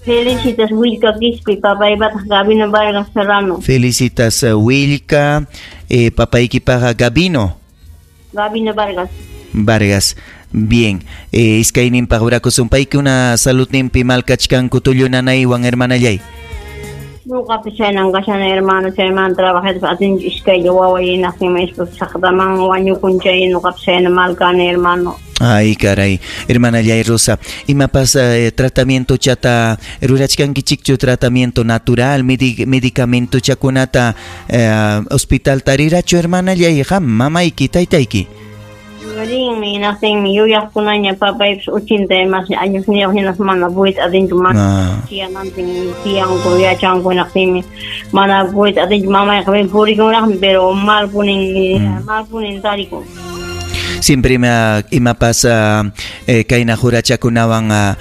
Felicitas Willka Quispe, papaypataq Gabino Vargas Serrano. Felicitas Willka, papaykipaqa Gabino. Gabino Vargas. Vargas. Bien, iskayninpaq orakusun. Paykuna saludninpi mal kachkanku tullu nanaywan, hermanallay. Ñuqapas chaynan kashani, hermano, chaymanta trabajaytas atinchu iskaylla waway hinaqtinmi saqtaman wañukun chay ñuqapas chayna mal kani, hermano. Ay, caray, hermanallay Rosa, imapas tratamiento chata rurachkankichikchu, tratamiento natural, medicamento chakunata hospital tarirachu, hermanallay, qam, mamayki, taytayki? Rinmi, hinaqtinmi yuyaqkunaña papaypas 80 más añosniyuq hinaspa mana puyta atinchu, mana tiyanantin tiyanku yachanku hinaqtinmi mana puyta atinchu, mamayqa purikunraqmi, pero malpunin tarikun. Siempre imapas kayna jurachakunawan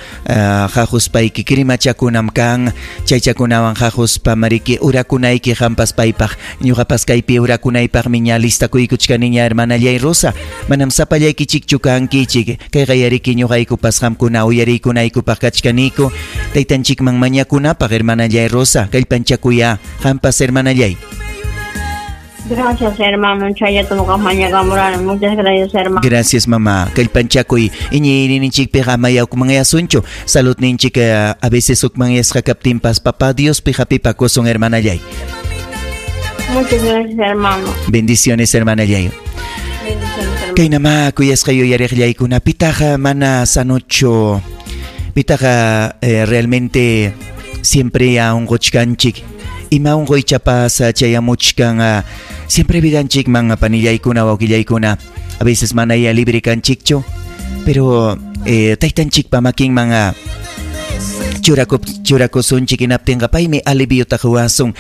hahuspayki krimachakunam kan, chaychakunawan hahuspa mariki urakunayki qampas paypaq, ñuqapas kaypi urakunaypaqmi ña listakuykuchkaniña, hermanallay Rosa. Manam sapallaykichikchu kankichik, kayqa yariki ñuqaykupas qamkuna uyariykunaykupaq kachkaniku, taytanchikman mañakunapaq, hermanallay Rosa, kallpanchakuya qampas, hermanallay. Gracias, hermano. Chayata ñuqa mañakamurani. Muchas gracias, hermano. Gracias, mamá. Kallpanchakuy. Iñiyninchikpiqa amaya hukmanyasunchu. Saludninchik a veces hukmanyasqa kaptinpas papá Diospi hapipakusun, hermanallay. Muchas gracias, hermano. Bendiciones, hermanallay. Bendiciones, hermano. Kaynama kuyasqa yuyariqllaykuna pitaqa mana sanocho. Pitaqa realmente siempre unquchkanchik. Ima unquychapas chayamuchkan siempre vidanchikman panillaykuna wawqillaykuna. A veces manaya libre kanchikchu, pero taytanchikpa makinman churakusunchik hinaptinqa paymi aliviota quwasun,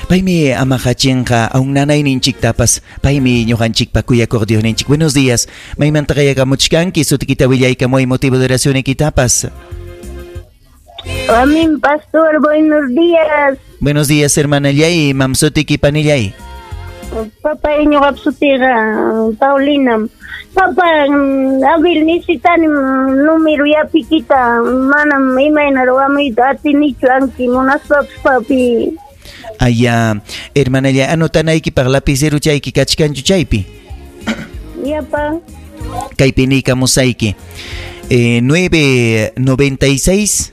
paymi amaqachinqa aun nanayninchiktapas, paymi ñuqanchikpa kuyakuq Diosninchik. Buenos días, maymanta qayakamuchkanki, sutikita willaykamuy motivo de oracionykitapas. Amén, pastor, buenos días. Buenos días, hermana Yay, mamsutiki panillay. Papá, ñuqap sutiqa Paulina. Papá, Abel, necesitani número yapikita, manam imayna ruwamuyta atinichu anki munaspapas, papi. Aya, hermana Yay, anotanaykipaq lapicero chayki kachkanchu chaypi? Yapa. Kaypi niykamusayki. 996.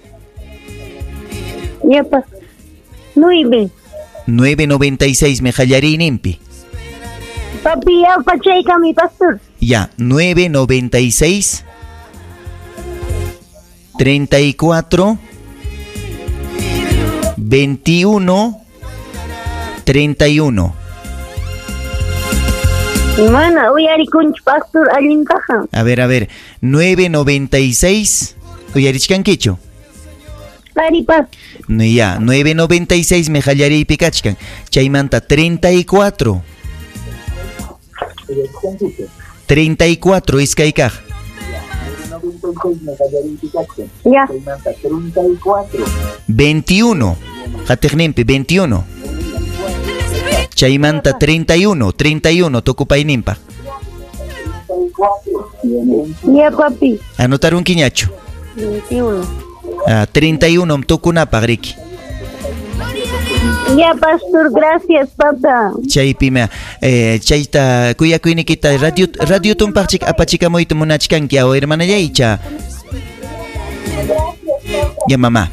Yapa. 9. 996 me qallariyninpi. Papi, yapa chaykami, pastor. Ya, 996 34 21 31. Mana uyarikunchu, pastor, allintaqa. A ver, 996, uyarichkankichu? Paripas. Ya, 996 me qallariypi kachkan. Chaymanta 34. 34 iskay kaq. Ya. 21. Qatiqninpi 21. Chaymanta 31, 31 tukupayninpaq. Ya, papi. Anotarunkiñachu? 21. 31 tukunapaq riki. Ya, pastor, gracias, papá. Chaypima, chayta kuyakuynikita radio tumpaqchik apachikamuyta munachkanki aw hermanallaycha. Ya, mamá.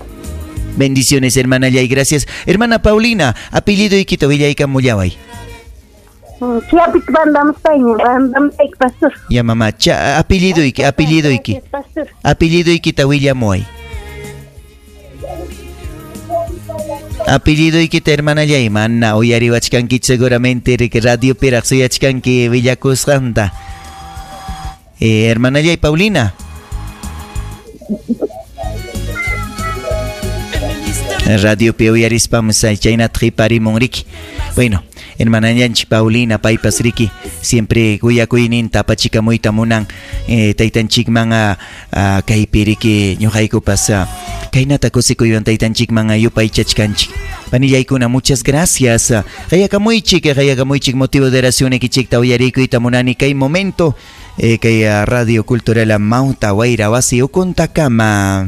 Bendiciones, hermanallay, gracias. Hermana Paulina, apellido ikita willaykamullaway. Pastor. Ya, mamá, apellido iki, apellido iki. Apellido ikita willamuay. Apellido ikita, hermana Yay, mana uyariwachkanki seguramente riki radio piraq suyachkanki willakusqanta. Hermana Yay, Paulina. Radio pi uyarispam chaynata qhiparimun riki. Bueno, hermana Yanchi Paulina paypas riki siempre kuyakuyninta apachikamuyta munan taytanchikman kaypi riki ñuqaykupas kaynata kusikuywan taytanchikman yupaychachkanchik. Panillaykuna, muchas gracias. Qayakamuychik motivo de oración ikichikta uyarikuyta munani kay momento kay Radio Cultural Mauta Wayra wasi ukuntakama.